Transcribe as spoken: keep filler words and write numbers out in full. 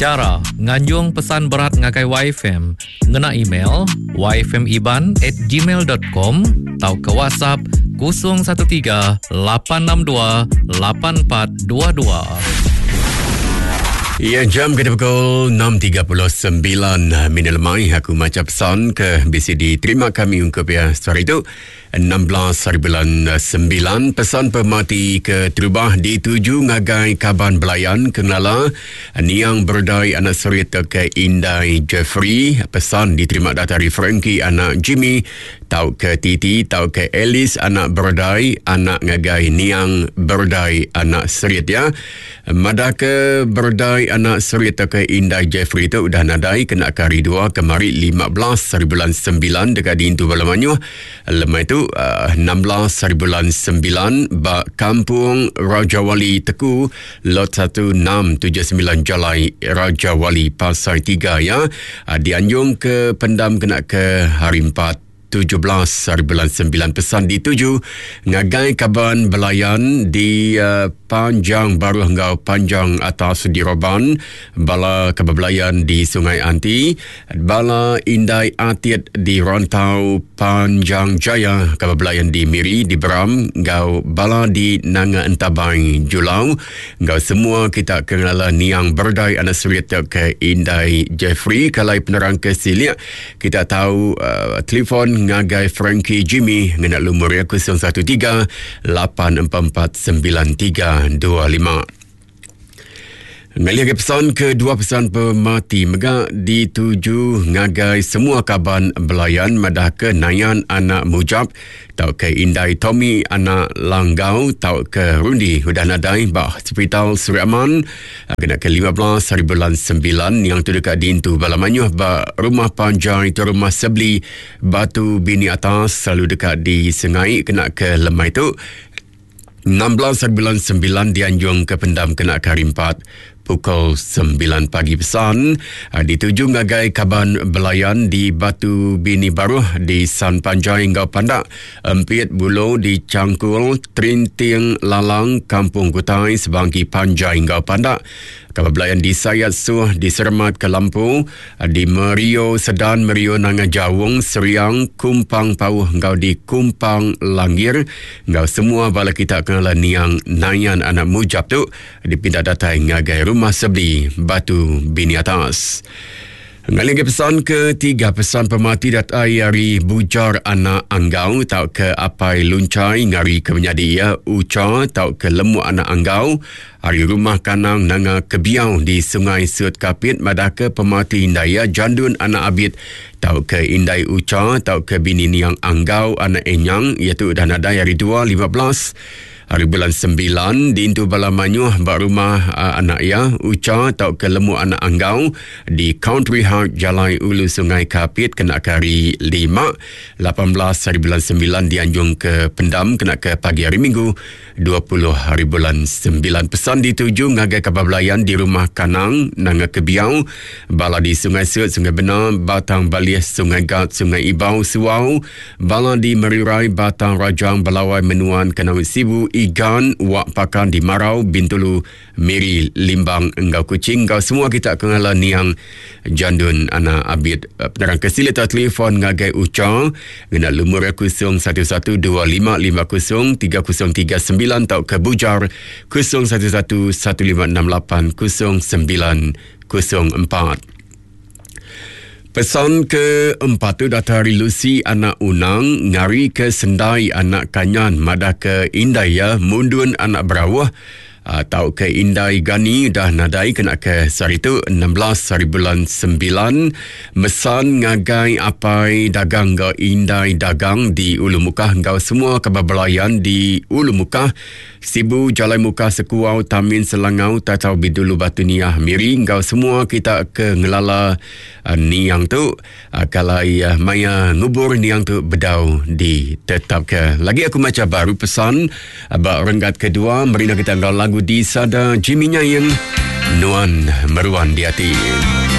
Cara nganjung pesan berat ngagai Y F M ngena email y f m iban at gmail dot com atau ke WhatsApp kosong satu tiga lapan enam dua lapan empat dua dua. Ya, jam kita pukul enam tiga puluh sembilan minit lemai. Aku maca pesan ke B C D. Terima kami ungkup ya sehari itu enam belas hari bulan sembilan. Pesan pemati ke terubah dituju ngagai Kaban Belayan Kenala Niang Berdai anak Serit ke Indai Jeffrey. Pesan diterima dari Frankie anak Jimmy tau ke Titi tau ke Alice anak Berdai anak ngagai Niang Berdai anak Serit ya. Madah ke Berdai anak Serit ke Indai Jeffrey tu udah nadai kena kari dua kemari lima belas hari bulan sembilan dekat di Intu Bala Manyuh. Lemai tu uh, enam belas hari bulan sembilan ba Kampung Raja Wali Teku Lot satu enam tujuh sembilan Jalai Raja Wali Pasar tiga ya. Uh, dianjung ke pendam kena ke hari empat tujuh belas hari bulan sembilan. Pesan dituju ngagai Kaban Belayan di uh, Panjang Baruh Enggau Panjang Atas di Roban, bala Kaban Belayan di Sungai Anti, bala Indai Atit di Rantau Panjang Jaya, Kaban Belayan di Miri di Beram, enggau bala di Nanga Entabai Julau, enggau semua kita kenala Niang Berdai anak Serit ke Indai Jeffrey. Kalau penerang ke siliak kita tahu uh, telefon ngagai Frankie Jimmy ngena lumur ya kosong satu tiga lapan empat empat sembilan tiga dua lima. Ngalih ke pesan kedua, pesan pemati mega dituju ngagai semua Kaban Belayan madah ke Nayan anak Mujab tau ke Indai Tommy anak Langgau tau ke Rundi udah nadai ba Hospital Seri Aman kena ke lima belas hari bulan sembilan yang tu dekat dintu Bala Manyuh ba Rumah Panjang itu Rumah Sebli Batu Bini Atas selalu dekat di Sengai kena ke lemai tu enam belas hari bulan sembilan dianjung ke pendam kena ke hari empat pukul sembilan pagi. Pesan dituju ngagai Kaban Belayan di Batu Bini Baruh di San Panjai Enggau Pandak, Empit Bulo di Cangkul, Terinting Lalang, Kampung Kutai, Sebangki Panjai Enggau Pandak, Kaban Belayan di Sayat Suh di Sermat ke Lampu, di Merio Sedan, Merio Nanga Jawung, Seriang, Kumpang Pauh Enggau di Kumpang Langir, enggau semua bala kita kenala Niang Nayan anak Mujab tu dipindah datai ngagai Rumah Sebli Batu Bini Atas. Ngalih ke pesan ketiga, pesan pemati datai hari Bujar anak Anggau tau ke Apai Luncai ngari ke menyadi ya Uca tau ke Lemuk anak Anggau hari Rumah Kanang Nanga Kebiau di Sungai Sut Kapit madah ke pemati Indai ya Jandun anak Abid tau ke Indai Uca tau ke bini Niang Anggau anak Enyang iaitu dah nadai hari dua lima belas hari bulan sembilan dintu Bala Manyuh ba rumah uh, anak ya Uca tau ke Lemuk anak Anggau di Country Heart Jalai Ulu Sungai Kapit kena ke hari lima lapan belas hari bulan sembilan dianjung ke pendam kena ke pagi hari Minggu dua puluh hari bulan sembilan. Pesan dituju ngagai Kaban Belayan di Rumah Kanang Nanga Kebiau, bala di Sungai Sut, Sungai Benar, Batang Balih, Sungai Gat, Sungai Ibau, Suau, bala di Merirai, Batang Rajang, Belawai, Menuan, Kenawit Sibu, Igan, Wak Pakan di Marau, Bintulu, Miri, Limbang, Enggau Kuching. Enggau semua kita kenala Niang Jandun anak Abid. Penerang kesilit atau telefon ngagai Uca ngena lumur kosong satu satu dua lima lima kosong tiga kosong tiga sembilan atau ke Bujar kosong satu satu satu lima enam lapan kosong sembilan kosong empat. Pesan keempat tu datari Lucy anak Unang ngari ke Sendai anak Kanyan madah ke Indai ya Mundun anak Berawah atau ke Indai Gani dah nadai kena ke sehari tu enam belas hari bulan sembilan. Mesan ngagai Apai Dagang ke Indai Dagang di Ulu Mukah enggau semua Kaban Belayan di Ulu Mukah, Sibu, Jalai Mukah, Sekuau, Tamin, Selangau, Tatau Bidulu, Batu Niah, Miri enggau semua kita ke ngelala uh, Niang tu uh, kalau uh, maya ngubur Niang tu bedau ditetapkan. Lagi aku baca baru pesan uh, bak renggat kedua merina kita enggau lagu di sada Jimmy Nyaing Nuan Meruan di Hati.